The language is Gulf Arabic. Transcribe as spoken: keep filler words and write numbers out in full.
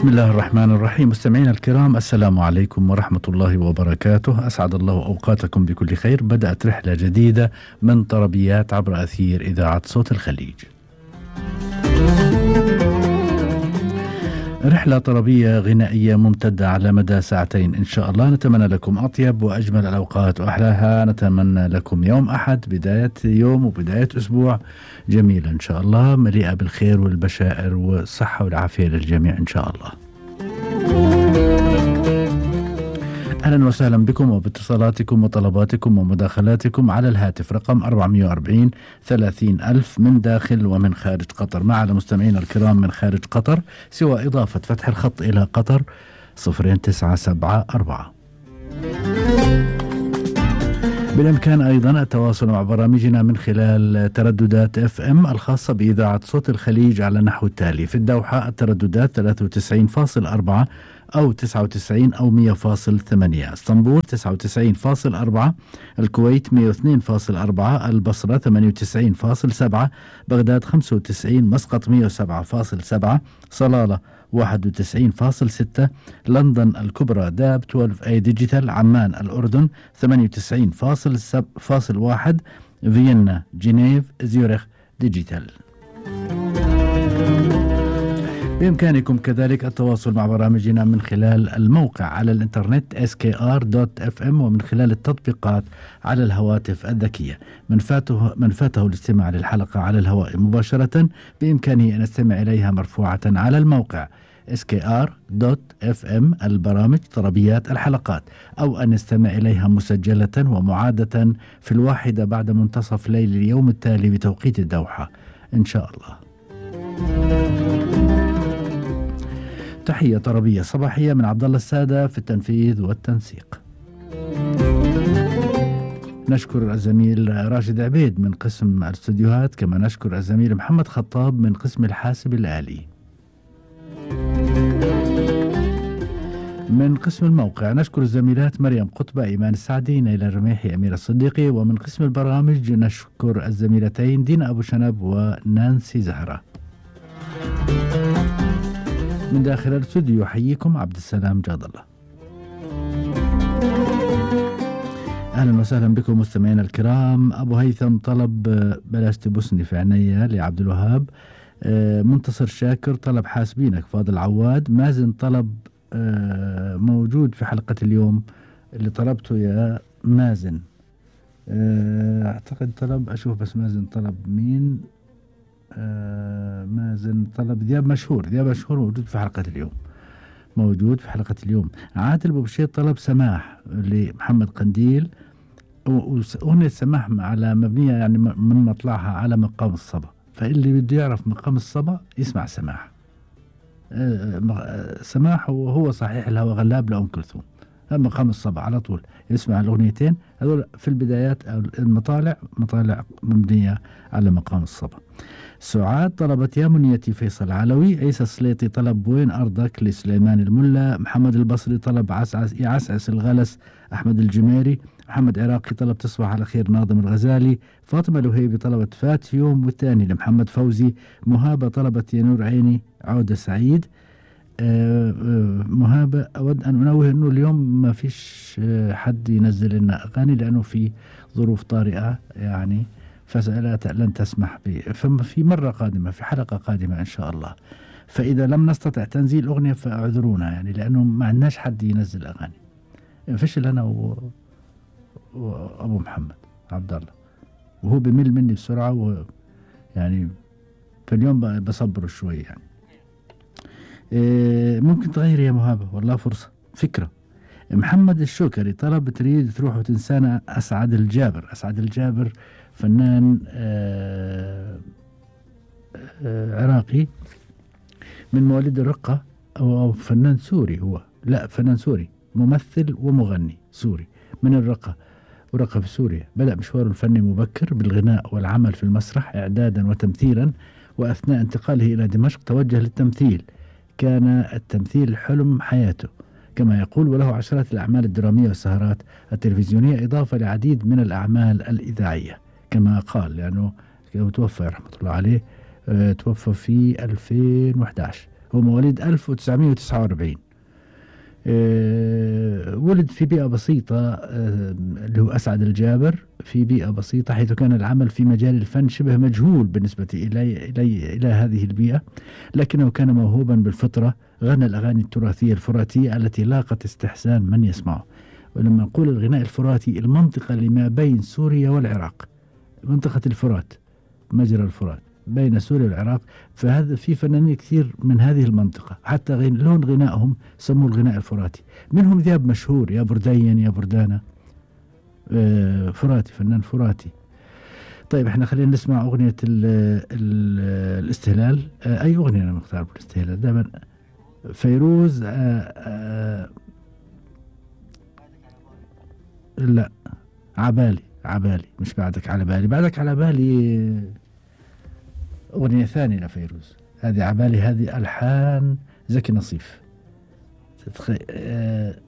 بسم الله الرحمن الرحيم. مستمعينا الكرام، السلام عليكم ورحمة الله وبركاته. أسعد الله أوقاتكم بكل خير. بدأت رحلة جديدة من طربيات عبر أثير إذاعة صوت الخليج. رحلة طربية غنائية ممتدة على مدى ساعتين إن شاء الله. نتمنى لكم أطيب وأجمل الأوقات وأحلاها. نتمنى لكم يوم أحد، بداية يوم وبداية أسبوع جميلة إن شاء الله، مليئة بالخير والبشائر والصحة والعافية للجميع إن شاء الله. أهلا وسهلا بكم وباتصالاتكم وطلباتكم ومداخلاتكم على الهاتف رقم أربعمئة وأربعين ثلاثين ألف من داخل ومن خارج قطر. مع المستمعين الكرام من خارج قطر سوى إضافة فتح الخط إلى قطر صفرين تسعة سبعة أربعة. بالإمكان أيضا التواصل مع برامجنا من خلال ترددات اف ام الخاصة بإذاعة صوت الخليج على نحو التالي: في الدوحة الترددات ثلاثة وتسعين فاصلة أربعة أو تسعة وتسعين أو مئة فاصلة ثمانية، اسطنبول تسعة وتسعين فاصلة أربعة، الكويت مئة واثنين فاصلة أربعة، البصرة ثمانية وتسعين فاصلة سبعة، بغداد خمسة وتسعين، مسقط مئة وسبعة فاصلة سبعة، صلالة واحد وتسعين فاصلة ستة، لندن الكبرى داب اثنا عشر اي ديجيتال، عمان الأردن ثمانية وتسعين فاصلة واحد، فيينا جنيف زيورخ ديجيتال. بإمكانكم كذلك التواصل مع برامجنا من خلال الموقع على الإنترنت إس كي آر دوت إف إم ومن خلال التطبيقات على الهواتف الذكية. من فاته, من فاته الاستماع للحلقة على الهواء مباشرة بإمكانه أن يستمع إليها مرفوعة على الموقع إس كي آر دوت إف إم البرامج طربيات الحلقات، أو أن يستمع إليها مسجلة ومعادة في الواحدة بعد منتصف ليل اليوم التالي بتوقيت الدوحة إن شاء الله. تحية طربية صباحية من عبد الله السادة في التنفيذ والتنسيق. نشكر الزميل راشد عبيد من قسم الاستوديوهات، كما نشكر الزميل محمد خطاب من قسم الحاسب الآلي. من قسم الموقع نشكر الزميلات مريم قطبة، إيمان السعدي، نيلة الرميحي، أمير الصديقي. ومن قسم البرامج نشكر الزميلتين دينا أبو شنب ونانسي زهرة. من داخل الاستوديو يحييكم عبد السلام جاد الله. أهلا وسهلا بكم مستمعينا الكرام. أبو هيثم طلب بلاش تبسني في عينيا لعبد الوهاب. منتصر شاكر طلب حاسبينك. فاضل عواد. مازن طلب موجود في حلقة اليوم اللي طلبته يا مازن. أعتقد طلب، أشوف بس مازن طلب مين. آه مازن طلب ذياب مشهور. ذياب مشهور موجود في حلقة اليوم، موجود في حلقة اليوم. عادل بوبشير طلب سماح لمحمد قنديل، وأغنية سماح على مبنية يعني من مطلعها على مقام الصبا، فاللي بده يعرف مقام الصبا يسمع سماح. آه سماح وهو صحيح الهوى غلاب لأم كلثوم، مقام الصبا على طول يسمع الأغنيتين هذول في البدايات. المطالع مطالع مبنية على مقام الصبا. سعاد طلبت يا منيتي فيصل علوي. عيسى السليطي طلب وين أرضك لسليمان الملا. محمد البصري طلب عسعس يعسعس الغلس أحمد الجميري. محمد عراقي طلب تصبح على خير ناظم الغزالي. فاطمة الوهيبي طلبت فات يوم والثاني لمحمد فوزي. مهابة طلبت يا نور عيني عودة سعيد. آه آه مهابة أود أن أنوه أنه اليوم ما فيش آه حد ينزل لنا أغاني لأنه في ظروف طارئة يعني، فلا لن تسمح به. فما في مرة قادمة، في حلقة قادمة إن شاء الله. فإذا لم نستطع تنزيل أغنية فاعذرونا يعني، لأنه ما عندناش حد ينزل أغاني. فشل أنا و... وأبو محمد عبد الله، وهو بمل مني بسرعة، ويعني في اليوم بصبره شوي يعني. إيه ممكن تغير يا مهابة، والله فرصة فكرة. محمد الشوكري طلب تريد تروح وتنسانا أسعد الجابر. أسعد الجابر فنان آه آه عراقي من مواليد الرقة، أو, أو فنان سوري. هو لا فنان سوري، ممثل ومغني سوري من الرقة، ورقة في سوريا. بدأ مشواره الفني مبكر بالغناء والعمل في المسرح إعدادا وتمثيلا، وأثناء انتقاله إلى دمشق توجه للتمثيل. كان التمثيل حلم حياته كما يقول، وله عشرات الأعمال الدرامية والسهرات التلفزيونية، إضافة لعديد من الأعمال الإذاعية كما قال، لأنه توفى رحمة الله عليه. اه توفى في ألفين وإحدى عشر هو مواليد ألف وتسعمائة وتسعة وأربعين. أه ولد في بيئة بسيطة، أه اللي هو أسعد الجابر، في بيئة بسيطة، حيث كان العمل في مجال الفن شبه مجهول بالنسبة إلي إلي إلى هذه البيئة، لكنه كان موهوبا بالفطرة. غنى الأغاني التراثية الفراتية التي لاقت استحسان من يسمعه. ولما نقول الغناء الفراتي، المنطقة اللي ما بين سوريا والعراق، منطقة الفرات، مجرى الفرات بين سوريا والعراق، فهذا في فنانين كثير من هذه المنطقة، حتى غن لون غنائهم سموه الغناء الفراتي. منهم ذياب مشهور، يا بردين يا بردانة، آه فراتي، فنان فراتي. طيب احنا خلينا نسمع أغنية ال ال الاستهلال. آه أي أغنية أنا مختار بالاستهلال دائما؟ فيروز. آه آه لا، عبالي عبالي، مش بعدك على بالي. بعدك على بالي أغنية ثانية لفيروز. هذه عبالي، هذه ألحان زكي نصيف. تتخيل؟ آه